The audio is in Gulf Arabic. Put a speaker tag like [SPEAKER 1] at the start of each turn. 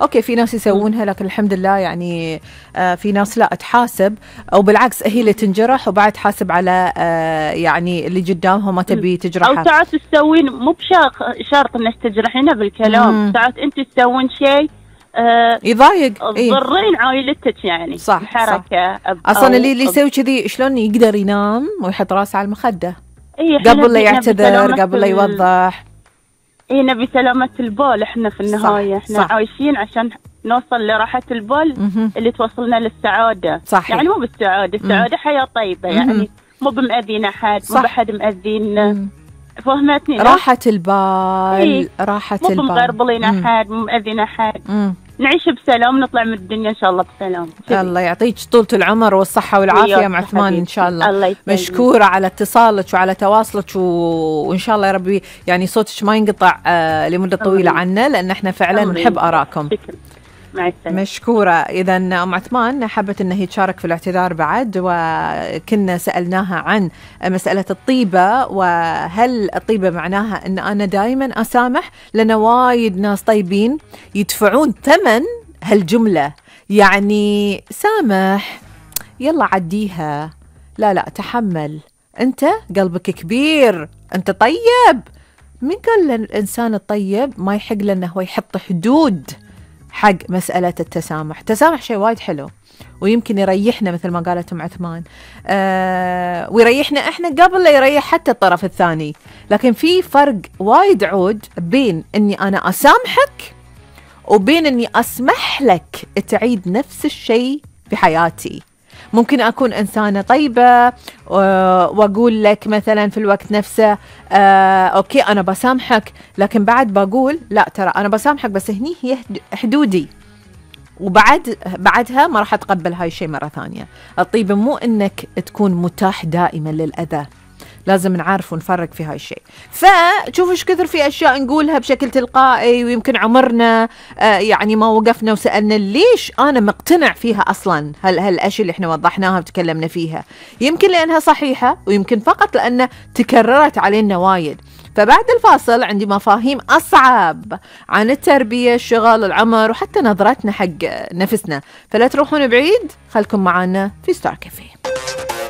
[SPEAKER 1] اوكي في ناس يسوونها، لكن الحمد لله يعني في ناس لا تحاسب، او بالعكس هي اللي تنجرح وبعد تحاسب على يعني اللي قدامها ما تبي تجرحها.
[SPEAKER 2] او ساعات تسوين مو بشرط انك تجرحينها بالكلام، ساعات انت تسوين شيء
[SPEAKER 1] يضايق
[SPEAKER 2] تضرين عائلتك يعني.
[SPEAKER 1] صح
[SPEAKER 2] الحركه
[SPEAKER 1] صح. اصلا اللي يسوي كذي شلون يقدر ينام ويحط راسه على المخده قبل لا يعتذر، قبل لا يوضح.
[SPEAKER 2] نبي سلامة البال احنا في النهاية. احنا صح. عايشين عشان نوصل لراحة البال اللي توصلنا للسعادة.
[SPEAKER 1] صح.
[SPEAKER 2] يعني مو بالسعادة، السعادة حياة طيبة يعني مو بمأذين أحد، مو بحد مأذين. فهمتني؟
[SPEAKER 1] راحة البال راحة البال،
[SPEAKER 2] مو مغربلين أحد، مو مأذين أحد. نعيش بسلام، نطلع من الدنيا إن شاء الله بسلام.
[SPEAKER 1] الله يعطيك طولة العمر والصحة والعافية يا عثمان إن شاء الله مشكورة على اتصالك وعلى تواصلك وإن شاء الله يا ربي يعني صوتك ما ينقطع لمدة طويلة عنا، لأن احنا فعلا نحب آراءكم.
[SPEAKER 2] مع السلامة.
[SPEAKER 1] مشكورة. إذا أم عثمان حبت أنها تشارك في الاعتذار بعد، وكنا سألناها عن مسألة الطيبة، وهل الطيبة معناها أن أنا دائما أسامح؟ لأن وايد ناس طيبين يدفعون ثمن هالجملة، يعني سامح يلا عديها، لا تحمل، أنت قلبك كبير، أنت طيب. من قال الإنسان الطيب ما يحق لأنه هو يحط حدود حق مسألة التسامح؟ التسامح شيء وايد حلو ويمكن يريحنا مثل ما قالت أم عثمان، ويريحنا إحنا قبل لا يريح حتى الطرف الثاني. لكن في فرق وايد عود بين أني أنا أسامحك وبين أني أسمح لك تعيد نفس الشيء في حياتي. ممكن أكون إنسانة طيبة وأقول لك مثلا في الوقت نفسه أوكي أنا بسامحك، لكن بعد بقول لا ترى أنا بسامحك بس هني هي حدودي، بعدها ما راح أتقبل هاي الشيء مرة ثانية. الطيبة مو إنك تكون متاح دائما للأذى، لازم نعرف ونفرق في هاي الشيء. فشوفوا ايش كثر في أشياء نقولها بشكل تلقائي، ويمكن عمرنا يعني ما وقفنا وسألنا ليش أنا مقتنع فيها أصلا هالأشياء اللي احنا وضحناها وتكلمنا فيها. يمكن لأنها صحيحة، ويمكن فقط لأن تكررت علينا وايد. فبعد الفاصل عندي مفاهيم أصعب عن التربية، الشغل، العمر، وحتى نظرتنا حق نفسنا. فلا تروحون بعيد، خلكم معنا في ستار كافيه.